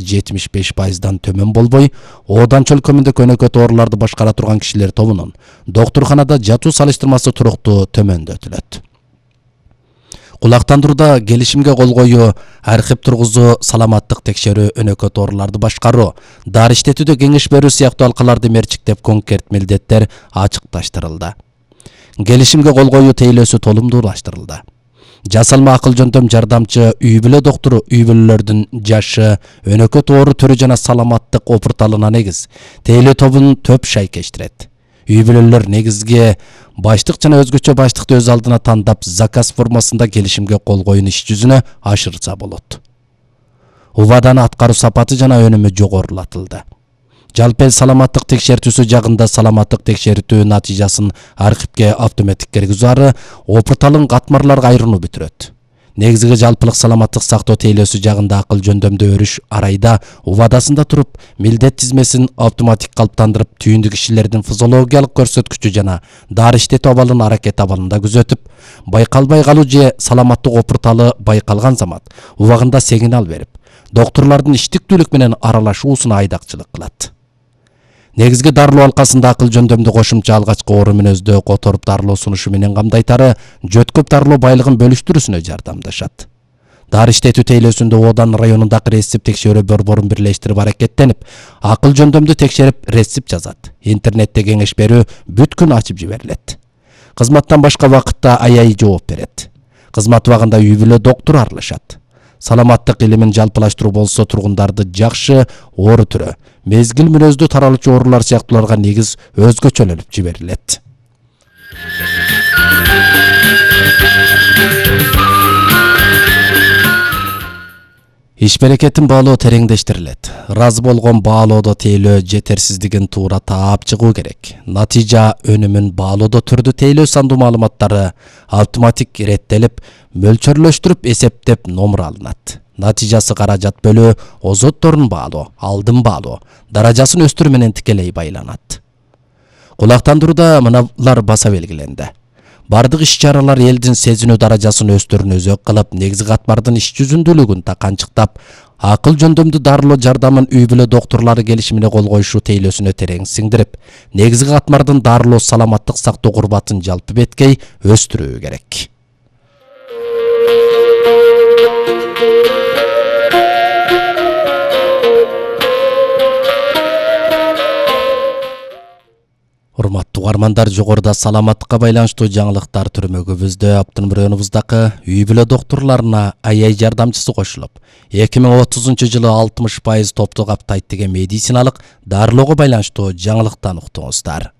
75%-дан төмөн болбой, Оданчы өлкөмүндө көнөкөт ооруларды башкара турган кишилер тобунун доктурханада жатуу салыштырмасы туруктуу төмөндөтүлөт. Кулактандырууда келишимге кол коюу, архив тургузуу, саламаттык текшерүү, өнөкөт ооруларды башкаруу, дары иштетүүдө кеңеш берүү сыяктуу алкаларды мерчиктеп конкрет милдеттер ачыкташтырылды. Келишимге кол коюу тейлөөсү толумдуулаштырылды. Жасалма акыл жөндөм жардамчы үй бүлө доктуру үй бүлөлөрдүн жашы, өнөкөт оору түрү жана саламаттык опурталына негиз тейлөө тобун төп шайкештирет. Үй бүлөлөр негизги баштык жана өзгөчө баштыкты өз алдына тандап заказ формасында келишимге кол коюун иш жүзүнө ашырса болот. УВАДанын аткаруу сапаты жана өнүмү жогорулатылды. Жалпы эл саламаттык текшертүүсү жагында саламаттык текшертүү натыйжасын архивге автоматтык киргизүү ары опурталын катмарларга айырууну бүтүрөт. Негизги жалпылык саламаттык сактоо тейлөөсү жагында акыл жөндөмдө өрүш арайда УВАДасында туруп, милдет тизмесин автоматтык калыптандырып, түйүндү кишилердин физиологиялык көрсөткүчү жана дары иштетүү абалын аракет абалында күзөтүп, байкалбай калуу же саламаттык опурталы байкалган замат убагында сигнал берип, доктурлардын иштиктүүлүк менен аралашуусуна айдакчылык кылат. Негизги дарылоо алкасында акыл жөндөмдү кошумча алгачкы оору мүнөздө которуп дарылоо сунушу менен камдайтары жөткөп дарылоо байлыгын бөлүштүрүүсүнө жардамдашат. Дары иштетүү тейлөөсүндө Одан районундагы рецепт текшерүү борборун бирлештирип аракеттенип, акыл жөндөмдү текшерип рецепт жазат. Интернетте кеңеш берүү бүт күн ачып жиберилет. Кызматтан башка вакытта АЯИ жооп берет. Кызмат убагында үй бүлө доктуру аралашат. Саламаттык илимин жалпылаштыруу болсо тургундарды жакшы оору түрү, мезгил мүнөздүү таралуучу оорулар сыяктууларга негиз өзгөчөлөнүп жиберилет. Иш берекетин баалоо тереңдештирилет. Разы болгон баалоодо тейлөө жетерсиздигин туура таап чыгуу керек. Натыйжа өнүмүн баалоодо түрдүү тейлөө сандуу маалыматтары автоматтык иреттелип, мөлчөрлөштүрүп эсептеп номер алынат. Натыйжасы каражат бөлүү, озотторун баалоо, алдын баалоо, даражасын өстүрүү менен тикелей байланат. Кулактандырууда мыналар баса белгиленди. Бардык иш-чаралар элдин сезинүү даражасын өстүрүүнү өзөк кылып, негизги катмардын иш жүзүндүүлүгүн таканчыктап, акыл жөндөмдү дарылоо жардамын үй бүлө доктурлары келишимине кол коюшу тейлөөсүнө терең сиңдирип, негизги катмардын дарылоо саламаттык сактоо курбатын жалпы беткей өстүрүү керек. Урматтуу угармандар, жогоруда саламаттыкка байланыштуу жаңылыктар түрмөгүбүздө Аптын районубуздагы үй бүлө доктурларына АЯИ жардамчысы кошулуп, 2030-жылы 60% топту каптайт деген медициналык дарылоого байланыштуу жаңылыктан уктуңуздар.